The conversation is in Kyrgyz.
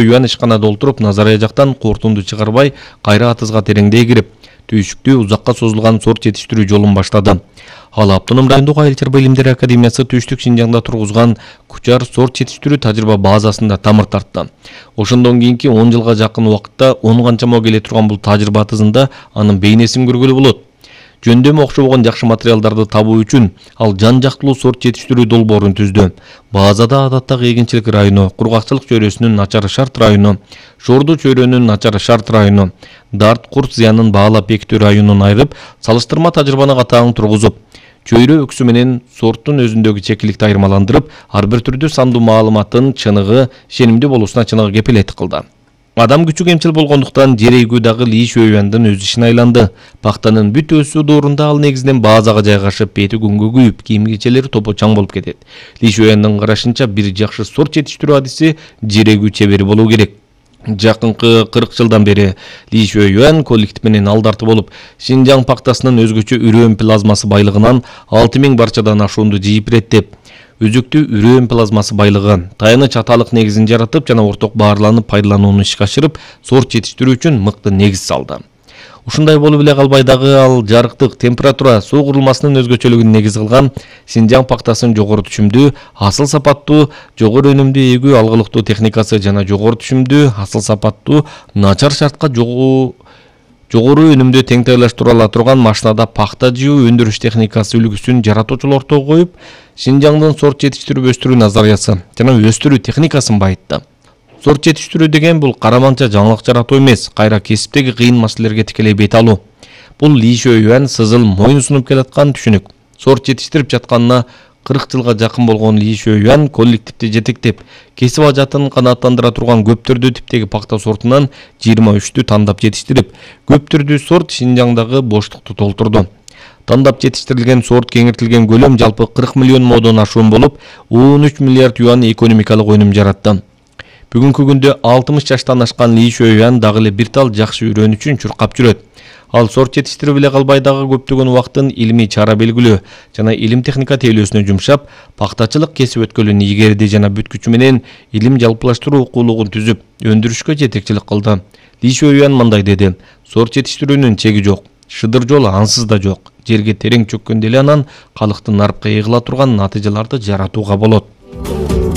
Юан ишканада олтуруп, Назарая жактан кортунду чыгарбай, кайра атызга тереңдей кирип, түйшүктүү узакка созулган сорт жетиштирүү жолун баштады. Ал Автоном райондук Айыл чарба илимдери академиясы Түштүк Шинжаңда тургузган Кучар сорт жетиштирүү тажрыйба базасында тамыр тартты. Ошондон кийинки 10 жылга жакын убакытта 10 канчама келе турган бул тажрыйба атызында анын бейнесин көргөлү болот. Жөндөмү окшобогон жакшы материалдарды табуу үчүн ал жан жактылуу сорт жетиштирүү долбоорун түздү. Базада адаттагы эгинчилик району, кургакчылык чөйрөсүнүн начар шарт району, Шорду чөйрөнүн начар шарт району, Дарт курт зыянын баалап бекитүү районун айырып, салыштырма тажрыйбаны катаң тургузуп, чөйрө өксү менен сорттун өзүндөгү чекиликти айырмаландырып, ар бир түрдүү сандуу маалыматтын чыныгы, ишенимдүү болуусуна чыныгы кепилет кылды. Адам күчү кемчил болгондуктан жер эгүү дагы Ли Шуэюандын өз ишине айланды. Пактанын бүт өсүү доорунда ал негизинен базага жайгашып, бети күнгө күйүп, кийим-кечелери топо чаң болуп кетет. Ли Шуэюандын карашынча бир жакшы сорт жетиштирүү адиси жер эгүү чебери болуу керек. Жакынкы 40 жылдан бери Ли Шуэюан коллектив менен алдарты болуп, Шинжаң пактасынын өзгөчө үрөөн плазмасы байлыгынан 6000 барчадан ашуунду жыйып иреттеп, өзүктүү үрөөн плазмасы байлыгы, таяныч аталык негизин жаратып жана орток баарланып пайдаланууну ишке ашырып, сорт жетиштирүү үчүн мыкты негиз салды. Ушундай болуп эле калбай дагы ал жарыктык, температура, суу курулмасынын өзгөчөлүгүн негиз кылган Шинжаң пактасынын жогору түшүмдүү, асыл сапаттуу, жогору өнүмдүү эгүү алгылыктуу техникасы жана жогору түшүмдүү, асыл сапаттуу, начар шартка жогору өнүмдү теңтайлаштыра ала турган машинада пакта жыуу өндүрүш техникасы үлгүсүн жаратуучулар ортого коюп, Шинжаңдын сорт жетиштирүү өстүрүү назариясы жана өстүрүү техникасын байытты. Сорт жетиштирүү деген бул караманча жаңылык жаратуу эмес, кайра кесиптеги кыйын маселелерге тикелей бет алуу. Бул Ли Шуэюан сызыл моюн сунуп келаткан түшүнүк. Сорт жетиштирип жатканына 40 жылга жакын болгон Ли Шуэюан коллективди жетектеп, кесип ажатын канааттандыра турган көп түрдүү типтеги пакта сортунан 23-тү тандап жетиштирип, көп түрдүү сорт Шинжаңдагы боштукту толтурду. Тандап жетиштирилген сорт кеңиртилген көлөм жалпы 40 миллион модон ашуун болуп, 13 миллиард юан экономикалык өнүм жаратты. Бүгүнкү күндө 60 жаштан ашкан Ли Шуэюан дагы эле бир тал жакшы үрөн үчүн чуркап жүрөт. Ал сорт жетиштирип эле калбай дагы көптөгөн убактын илимий чара белгилөө жана илим техника тейлөөсүнө жумшап, пактачылык кесип өткөлүн ийгерди жана бүт күчү менен илим жалпылаштыруу окуулугун түзүп, өндүрүшкө жетекчилик кылды. Ли Шуэюан мындай деди: "Сорт жетиштирүүнүн чеги жок, шыдыр жол ансыз да жок. Жерге терең чөккөндө эле анан калктын нарпка ыйгыла турган натыйжаларды жаратууга болот."